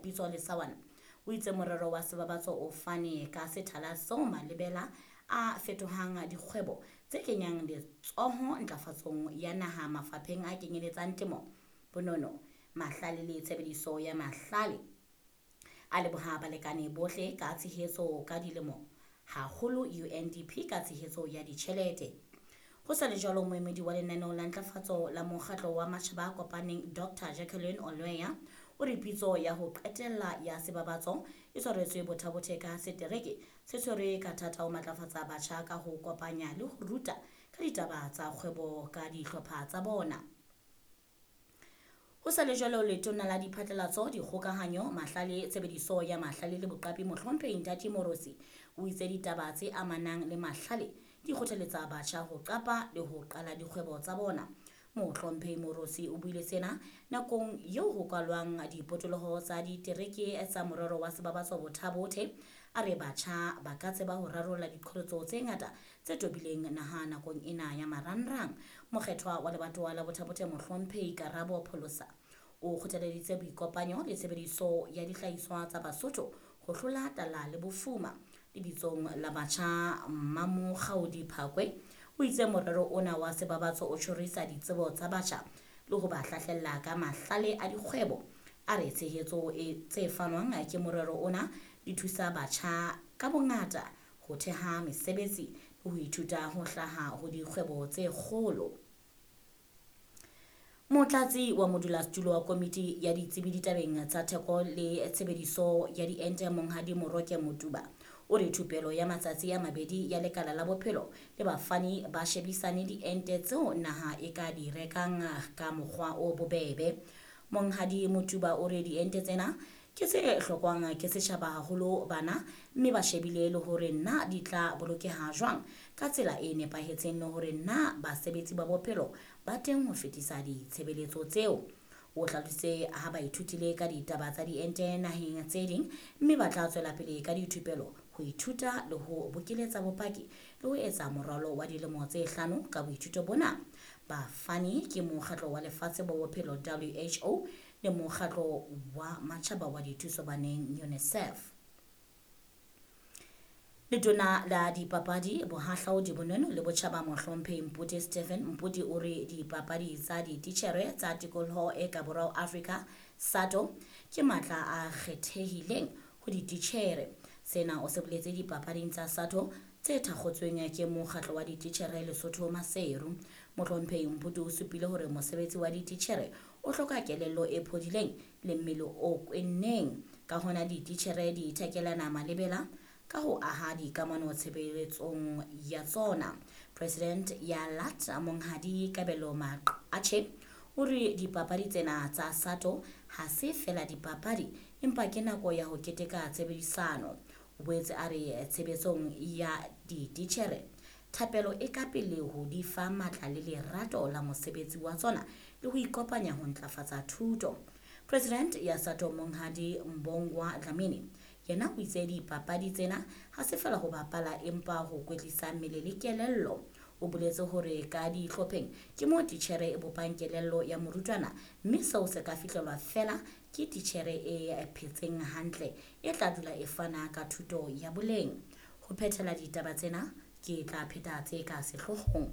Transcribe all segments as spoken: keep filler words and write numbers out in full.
Pitso Lesawana o itse morero wa sebabatso o fane ka sethala seo malebela a fetohang dikgwebo tse kenyang letsoho ntlafatsong ya naha mafapheng a kenyeletsang temo, bonono, mahlale le tshebediso ya mahlale. A leboha balekane bohle ka tshehetso ka dilemo, haholo U N D P ka tshehetso ya ditjhelete. Ho sa le jwalo, moemedi wa lenaneo la ntlafatso la Mokgatlo wa Matjhaba a Kopaneng Doctor Jacqueline Olweya o re pitso ya ho qetella ya sebabatso e tshwaretswe Botha-Bothe ka setereke se tshwerwe ka thata ho matlafatsa batjha ka ho kopanya le ho ruta ka ditaba tsa kgwebo ka dihlopha tsa bona. Ho sa le jwalo, letona la diphatlalatso, dikgokahanyo, mahlale, tshebediso ya mahlale le boqapi Mohlomphehi Nthati Moorosi o itse ditaba tse amanang le mahlale di kgothaletsa batjha ho qapa le ho qala dikgwebo tsa bona. Mohlomphehi Moorosi o buile sena nakong eo ho kwalwang dipotoloho tsa ditereke tsa morero wa sebabatso Botha-Bothe. A re batjha ba ka tseba ho rarolla diqholotso tse ngata tse tobileng naha nakong ena ya marangrang. Mokgethwa wa lebatowa la Botha-Bothe Mohlomphehi Karabo Pholosa o kgothaleditse boikopanyo le tshebediso ya dihlahiswa tsa Basotho ho hlola tlala le bofuma. Lebitsong la batjha Mmamokgaodi Phakwe o itse morero ona wa sebabatso o tjhorisa ditsebo tsa batjha le ho ba hlahlella ka mahlale a dikgwebo. A re tshehetso e tse fanwang ke morero ona di thusa batjha ka bongata ho theha mesebetsi le ho ithuta ho hlaha ho dikgwebo tse kgolo. Motlatsi wa modulasetulo wa komiti ya ditsebi ditabeng tsa theko le tshebediso ya diente Monghadi Moroke Motuba o re thupelo ya matsatsi a mabedi ya lekala la bophelo le bafani ba shebisane diente tseo naha e ka di rekang ka mokgwa o bobebe. Monghadi Motuba o re diente tsena ke tse hlokwang ke setjhaba haholo bana, mme ba shebile le hore na di tla bolokeha jwang ka tsela e nepahetseng le hore na basebetsi ba bophelo ba teng ho fetisa ditshebeletso tseo. O hlalositse ha ba ithutile ka ditaba tsa diente naheng tse ding, mme ba tla tswela pele ka dithupelo ho ithuta le ho bokeletsa bopaki le ho etsa moralo wa dilemo tse hlano ka boithuto bona. Bafani ke Mokgatlo wa Lefatshe wa Bophelo W H O le Mokgatlo wa Matjhaba wa Dithuso Baneng UNICEF. Letona la dipapadi, bohahlaudi, bonono le botjhaba Mohlomphehi Mpute Stephen Mpute o re dipapadi tsa dititjhere tsa tikoloho e ka borwa Afrika SATO ke matla a kgethehileng ho dititjhere. Sena o se boletse dipapading tsa SATO tse thakgotsweng ke Mokgatlo wa Dititjhere Lesotho Maseru. Mohlomphehi Mpute o supile hore mosebetsi wa dititjhere o hloka kelello e phodileng le mmele o kwenneng. Ka hona dititjhere di ithekelana malebela ka ho aha dikamano tshebeletsong ya tsona. President ya L A T Monghadi Kabelo Maqatjhe o re dipapadi tsena tsa SATO ha se fela dipapadi empa ke nako ya ho keteka tshebedisano. O boetse a re tshebetsong ya dititjhere thapelo e ka pele ho di fa matla le lerato la mosebetsi wa tsona le ho ikopanya ho ntlafatsa thuto. President ya SATO Monghadi Mbongwa Dlamini yena o itse dipapadi tsena ha se fela ho bapala empa ho kwetlisa mmele le kelello. O boletse hore ka dihlopheng ke moo titjhere e bopang kelello ya morutwana, mme seo se ka fihlelwa fela ke titjhere e phetseng hantle e tla dula e fana ka thuto ya boleng. Ho phethela ditaba tsena ke tla pheta tse ka sehloohong.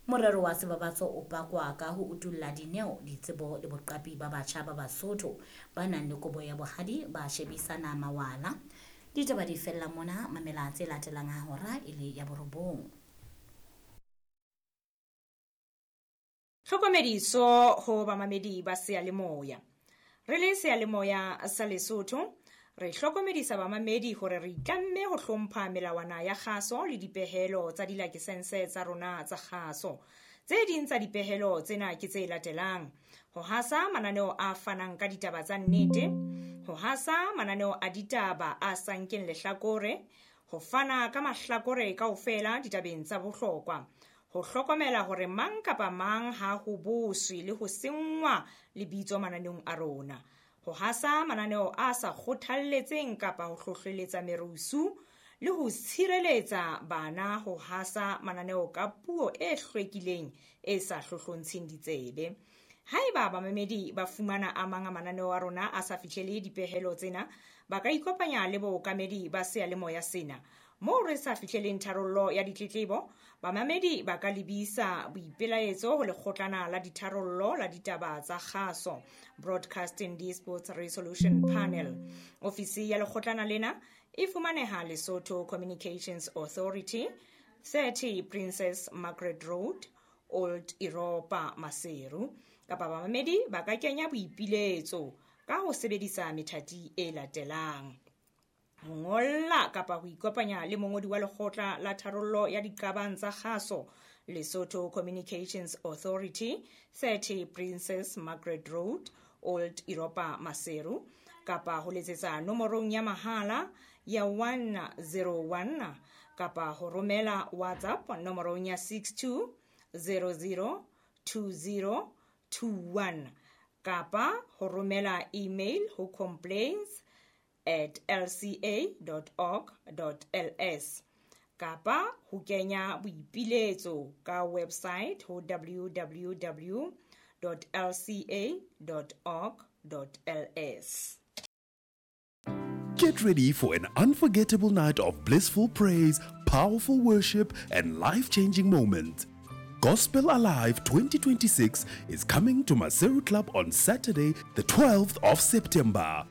Morero wa sebabatso o pakwa ka ho utulla dineo, ditsebo le boqapi ba batjha ba Basotho ba nang le kobo ya bohadi ba shebisana mawala. Ditaba di fella mona, mamela tse latelang ha hora e le ya borobong. Tlhokomediso ho bamamedi ba seyalemoya. Re le seyalemoya sa Lesotho, re hlokomedisa bamamedi hore re itlamme ho hlompha melawana ya kgaso le dipehelo tsa dilakesense tsa rona tsa kgaso. Tse ding tsa dipehelo tsena ke tse latelang: ho hasa mananeo a fanang ka ditaba tsa nnete, ho hasa mananeo a ditaba a sa nkeng lehlakore, ho fana ka mahlakore kaofela ditabeng tsa bohlokwa, ho hlokomela hore mang kapa mang ha ho boswe le ho senngwa lebitso mananeong a rona, ho hasa mananeo a sa kgothalletseng kapa ho hlohleletsa merusu, le ho tshireletsa bana ho hasa mananeo ka puo e hlwekileng e sa hlohlontsheng ditsebe. Haeba bamamedi ba fumana a mang a mananeo a rona a sa fihlele dipehelo tsena, ba ka ikopanya le bookamedi ba seyalemoya sena. Moo re sa fihleleng tharollo ya ditletlebo, bamamedi ba ka lebisa boipelaetso ho lekgotlana la ditharollo la ditaba tsa kgaso, Broadcasting Disputes Resolution Panel. Ofisi ya lekgotlana lena e fumaneha Lesotho Communications Authority, thirty Princess Margaret Road, Old Europa, Maseru. Kapa bamamedi ba ka kenya boipiletso ka ho sebedisa methati e latelang: ho ngolla kapa ho ikopanya le mongodi wa lekgotla la tharollo ya diqabang tsa kgaso, Lesotho Communications Authority, thirty Princess Margaret Road, Old Europa, Maseru, kapa ho letsetsa nomorong ya mahala ya one zero one kapa ho romela WhatsApp nomorong ya six two zero zero two zero two one kapa ho romela email ho complaints at l c a dot org dot l s kapa ho kenya boipiletso ka website ho w w w dot l c a dot org dot l s. Get ready for an unforgettable night of blissful praise, powerful worship, and life-changing moments. Gospel Alive twenty twenty-six is coming to Maseru Club on Saturday, the twelfth of September.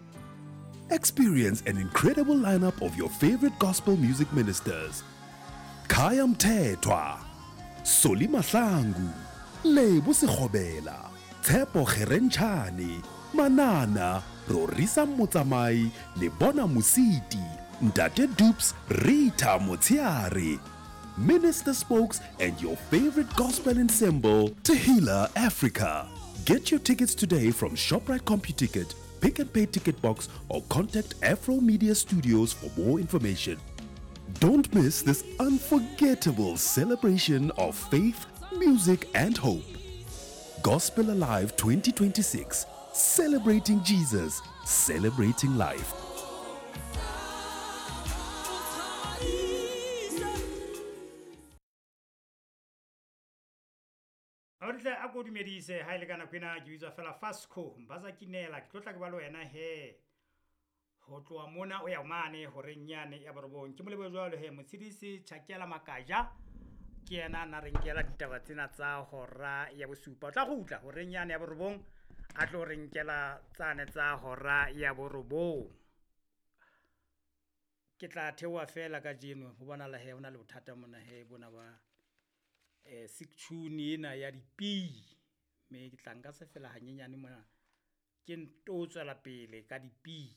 Experience an incredible lineup of your favorite gospel music ministers. Khaya Mthethwa, Solly Mahlangu, Lebo Sekgobela, Tshepo Kgerentshane, Manana, Rorisa Motsamai, Lebona Mositi, Ntate Dupes, Rita Motsiare, Minister Spokes, and your favorite gospel ensemble, Tehila Africa. Get your tickets today from ShopRite CompuTicket, Pick and Pay Ticket Box, or contact Afro Media Studios for more information. Don't miss this unforgettable celebration of faith, music, and hope. Gospel Alive twenty twenty-six, celebrating Jesus, celebrating life. Auritle a ko dumedise ha ile kana kwena ke bitswa fela Fasco mbaza kinela ke tlotla ke ba le wena he ho tloha mona o ya mane horeng yane ya borobong ke molebo jwalo he motshedisi Chakela Makaja ke yena na re nkela ditaba tsena tsa hora ya bosupa o tla gutla horeng yane ya borobong a tlo re nkela tsane tsa hora ya borobong ke tla theoha fela ka jeno ho bona la he hona le bothata mona he bona ba eh six-tune ena ya dipi me ke tla nka se fela hanyenyane mona ke nto tswela pele ka dipi.